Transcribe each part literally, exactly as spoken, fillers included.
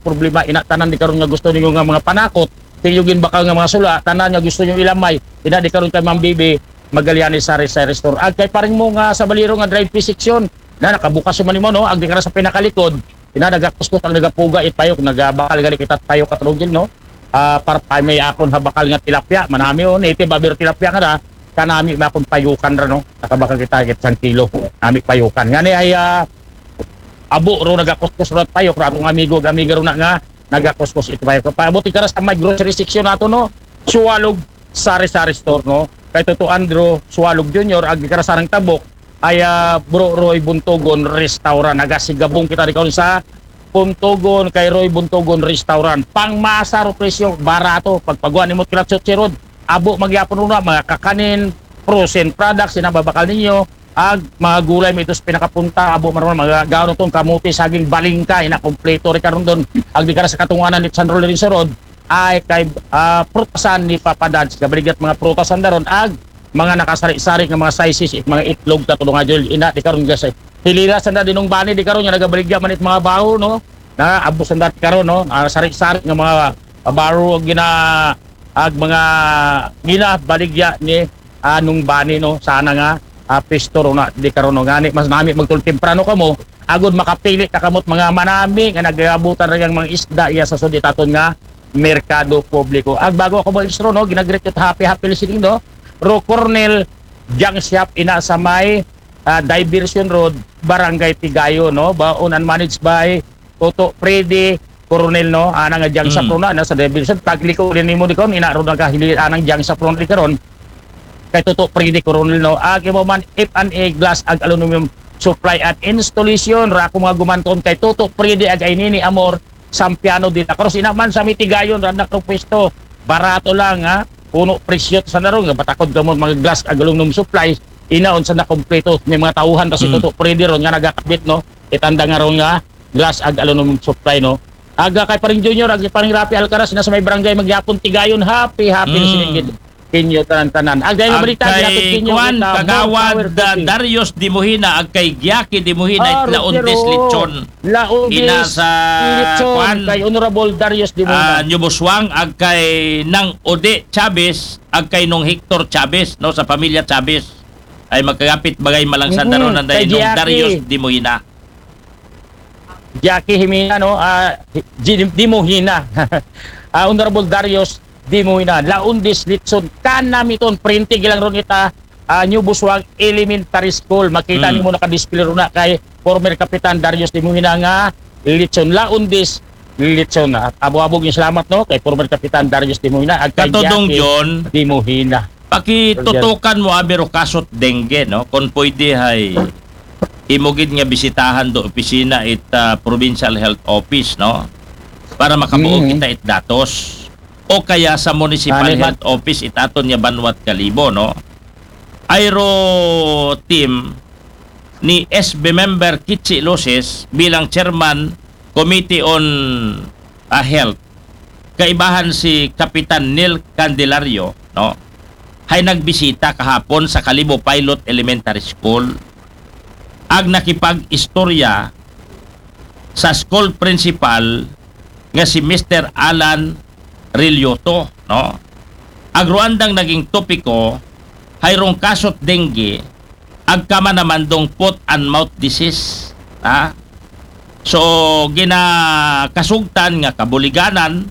problema, ina tanan di karon nga gusto ninyo nga mga panakot, sa inyo ginbakal nga mga sula, tanan nga gusto ninyo ilamay, ina di karon kay Ma'am Bibi Magallanes, Sari Sari Store. Ag kay paring mo nga sa Baliro nga drive-thru section, na nakabukas man nimo, no? Ag di ka na sa pinakalikod, ina nagakuskus ang nagapuga, it payok, nagabakal gani kita payok, Katrong Jil, no? Ah, para pa may akon ha bakal nga tilapia, manami, oh, native, aber tilapia nga na, kanami may akon payukan ra, no? Nakabakal kita, higit sang kilo, nami payukan. Ngani ay, ah, abo ro nagakuskus ro at payok, ra akong amigo, ag amiga ro na nga, nagakuskus ito payok. Paabot ka ra sa may grocery section nato, no? Suwalog, Sari Sari Store, no? Kay Toto Andrew, Suwalog Junior, ag di ka ra sa nang tabok, ay, ah, Bro Roy Buntogon Restaurant. Nagasigabong kita di karon sa Buntogon kay Roy Buntogon Restaurant. Pangmasa ro presyo, barato. Pagpaguan nimo kilat sa Road, abo magyapon na mga kakanin, frozen products, ina babakal ninyo. Ag mga gulay may dos pinakapunta, abo maron mga gaon tong kamuti, saging, balingka, ina kompleto ri karon don. Ag di ka ra sa katunganan ni San Lorenzo Road, ay kay, ah, prutasan ni Papa Dads. Gabaligya it mga prutasan daron, ag mga nakasari-sari nga mga sizes, it mga itlog, Katrong Jil, ina di karon nga sa hilira sa na dinong bani di karon nga nagabaligya man it mga baho, no? Na abos ang dati karon, no? Ah, sari-sari nga mga baro ang gina ag mga ginabaligya ni, ah, Nung Bani, no? Sana nga, ah, pisto ro na di karon, no? Ngani mas nami magtul temprano kamo, agod makapili ta kamot mga manami nga nagabutan ra yang mga isda iya sa sud it aton nga merkado publiko. Ag bago ako mo extra, no, ginagreet it happy, happy listening, no? Ro Cornel Junk Shop, ina sa may, ah, Diversion Road, Barangay Tigayon, no? Ba owned and managed by Toto Freddy Coronel, no? Anang nga Junk Shop, mm, ro na, na sa Diversion. Pagliko din nimo di karon, ina ro nagahili anang Junk Shop ro di karon. Kay Toto Freddy Coronel, no? Agi mo man, F and A glass ag aluminum supply at installation. Ra ako mga gumanton kay Toto Freddy ag ay Nini Amor, Sampiano de la Cruz. Ina man sa Mitigayon, ra na pwesto. Barato lang, ha? Puno presyo sa naron nga batakod ka mo mga glass ag aluminum supply. Ina unsa na kompleto ni mga tauhan ta si, mm, Toto Freddy ron nga nagakabit, no? Itanda nga ron nga glass ag aluminum supply, no? Aga kay Paring Junior, ag Paring Rafi Alcaraz na sa may barangay Magyapon Tigayon. Happy, happy na, mm, sinigid kinyo tanan-tanan. Ag dahil ag balita, kay ginapit kinyo kuan, kita, Kagawad, More Power, ah, Coffee. Darius Dimuhina, ag kay Gyaki Dimuhina, ah, it laon Rogero, dis lechon. Laon ina dis sa lechon, kuan, kay Honorable Darius Dimuhina. Ah, Nyuboswang, ag kay Nang Ode Chavez, ag kay Nong Hector Chavez, no, sa pamilya Chavez. Ay magkagapit bagay malang sa, mm, daron ang kay dahil nung Gyaki. Darius Dimuhina. Jackie Jimena, no? Ah, Ji-, Dimuhina. Ah, Honorable Darius Dimuhina. Laon dis lechon. Kanami ton, printig lang ron ita, ah, New Busuag Elementary School. Makita, mm, nimo nakadisplay ron na kay former Kapitan Darius Dimuhina nga lechon. Laon dis lechon. At abo-abo gyud salamat, no, kay former Kapitan Darius Dimuhina. Ag kay Katodong Jackie John. Dimuhina. Pakitutukan mo, abi, ro kasot dengue, no? Kung pwede, hay, imo gid nga bisitahan do opisina it, ah, Provincial Health Office, no? Para makabuo, mm, kita it datos. O kaya sa Municipal, ah, Health Office it aton nga banwat Kalibo, no? Ayro team ni S B member Kichi Luces bilang chairman Committee on, ah, Health. Kaibahan si Kapitan Neil Candelario, no? Hay nagbisita kahapon sa Kalibo Pilot Elementary School. Ag nakipag-istorya sa school principal nga si Mister Alan Rilioto, no? Ag ruandang naging topiko, hay rong kasot dengue, ag kama naman dong foot and mouth disease, ha? So, ginakasugtan nga kabuliganan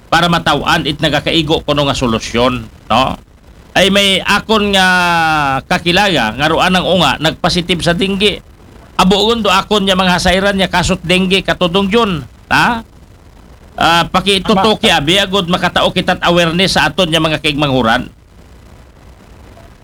para mataw-an it nagakaigo kuno nga solusyon, no? Ay may akon nga kakilala nga ruanang unga nagpositive sa dengue. Abuon do akon nga mga hasayran nga kasot dengue, Katodong John, ha? Ah, pakitutuki, tama, abi, agod makatao kita't awareness sa aton nga mga kaigmanghuran.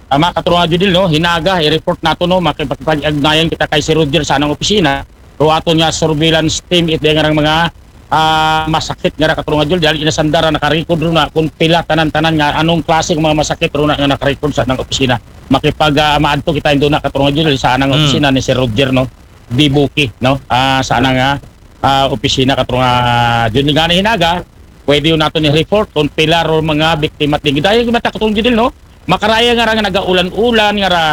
Tama, Katrunga Judil, no? Hinaga, i-report nato, no? Makipag-, makipag-agnayan kita kay si Roger sa anang opisina. Pero aton nga surveillance team, it nga mga, ah, masakit nga ra, Katrunga Judil, dahil inasandara, nakarecord ro na kung pila tanan-tanan nga anong klase ng mga masakit ro na nga nakarecord sa anang opisina. Makipag, ah, maadto kita indo na, Katrunga Judil, sa anang, hmm, opisina ni si Roger, no? Dibuki, no? Ah, sa anang, ah, ah, opisina, Katrunga Judil, nga ni hinaga, pwede yun nato ni report kung pila ro mga biktima. Dayon mata, Katrunga Judil, no? Makaraya nga ra nga nagaulan-ulan nga ra,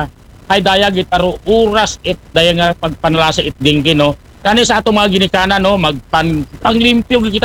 hay daya gitaro oras it daya nga pagpanalasa it dengue, no? Kani sa atong mga ginikanan, no, magpan-, panglimpyo gid kita